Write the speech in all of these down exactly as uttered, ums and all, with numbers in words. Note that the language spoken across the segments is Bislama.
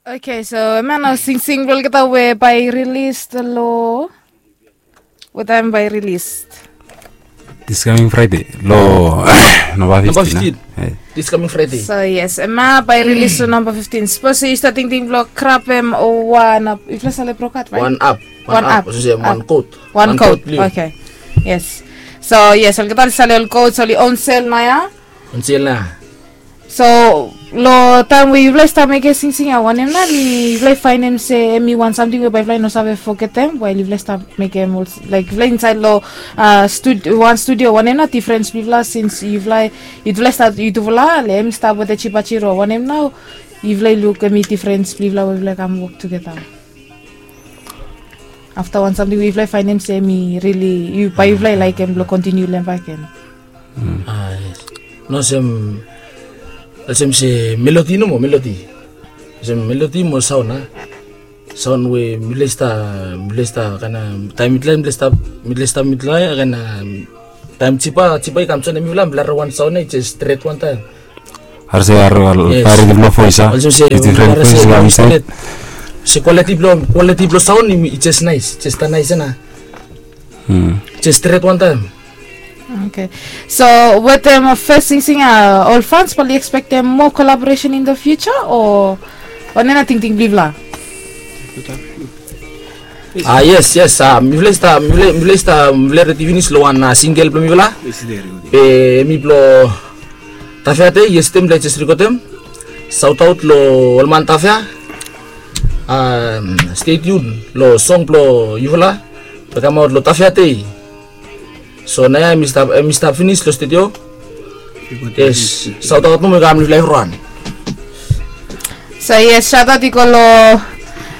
Okay, so hemia nao singsing blong olgeta we bae i rilis long, we taem bae i rilis? This coming Friday, long November fifteen. This coming Friday. So yes, hemia bae i rilis long November fifteen. Sapos yu stap tingting blong krapem wan ap, yufala save brokat, right? Wan ap. Wan ap. Olsem wan kot. Wan kot. Okay. Yes. So yes, olgeta oli save ol kots oli onsel naoia. Onsel naoia. So long taem we yufala i stap mekem singsing ia, wanem nao yufala i faenem se hemi wan samting we bae yufala i no save fogetem wael yufala i stap mekem, laek, yufala insaed long wan studio, wanem nao difrens blong yufala, sins yufala, yufala i stap, yutufala, le hemi stap wetem Jipa Jiro, wanem nao yufala i luk hemi difrens blong yufala we yufala i kam wok tugeta? Afta wan samting we yufala i faenem se hemi rili, bae yufala i laekem blong kontiniu lem bakegen? Yes. Nao olsem, olsem se melodi nomo, melodi. Olsem melodi mo saon a. Saon we mifala i stap, mifala i stap kaen a, taem mifala, mifala i stap, mifala i stap, mifala ia kaen a, taem Jipa, Jipa i kam joenem mifala, mifala harem wan saon ia i jes stret wantaem. Harem se, harem, harem se, difren voes i kam insaed. Se kwaliti blong, kwaliti blong saon i jes naes, jes stap naes ia nao. Jes stret wantaem. Okay. So wetem fes singsing ia, ol fans bae oli ekspektem moa collaboration in the future o wanem nao tingting blong yufala? Ah, yes, yes. Ah, mifala i stap, mifala i stap, mifala i redi finis long wan singel blong mifala. Be hemi blong Tafea Dei, yes, taem mifala i jes rekodem. Saotaot long ol man Tafea. Stay tuned long song blong yufala we kamaot long Tafea Dei. So naoia hemi stap, hemi stap finis long studio. Yes, saotaot nomo i kam long yufala evriwan. So yes, saotaot i go long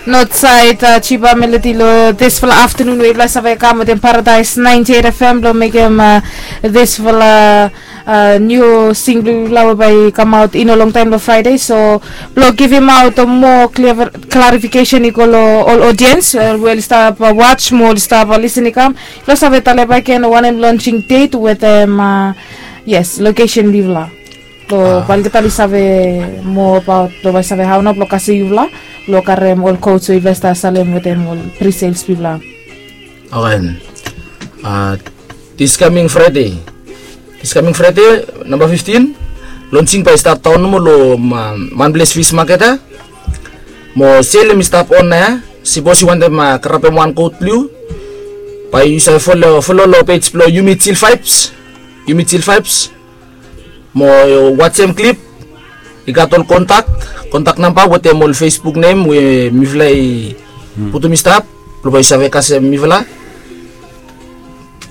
not saed, Jipa Melody, long disfala aftenun we yufala save kam wetem Paradise ninety-eight F M blong mekem disfala niu sing blong yufala we bae i kamaot i no longtaem long Fraede. So blong givimaot moa klarifikesen i go long ol odiens we oli stap waj mo oli stap lisen i kam, yufala save talem bakegen wanem lonsing det wetem, yes, lokesen blong yufala. Blong bae olgeta oli save moa abaot, blong bae save hao nao blong kasem yufala blong karem ol kots we yufala i stap salem wetem ol prisels blong yufala. Okay. This coming Friday, this coming Friday namba fiftin, lonsing bae i stap daon nomo long Manples Fish Market ia. Mo sel hemi stap on ia. Sipos yu wantem karapem wan kot blong yu, bae yu save folo, folo long pej blong Yumi Chill Vibes. Yumi Chill Vibes. Mo wajem klip, i gat ol kontak, kontak namba wetem ol Facebook nem we mifala i putum i stap blong bae yu save kasem mifala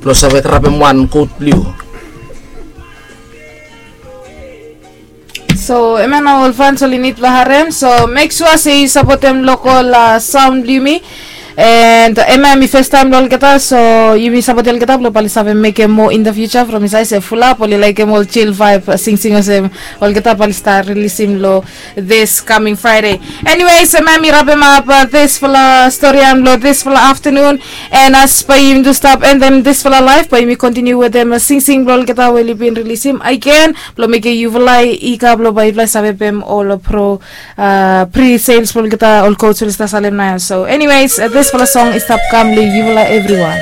blong save karapem wan kot blong yu. So hemia nao ol fans oli nid blong harem, so mek sua se yu sapotem lokol saon blong yumi. And hemia hemi fes taem blong olgeta, so yumi sapotem olgeta blong bae oli save mekem moa in the future from insaed se fulap oli laekem ol chill vibe singsing olsem olgeta bae oli stap rilisim long this coming Friday. Anyways, hemia hemi rapemap disfala storian blong disfala aftenun. And as bae yumi tu stap endem disfala laef, bae yumi kontiniu wetem singsing blong olgeta we oli bin rilisim agen blong mekem yufala i kam blong bae yufala i save pem ol pro, pre sales blong olgeta ol kots we oli stap salem naoia. So anyways, disfala song i stap kam long yufala evriwan.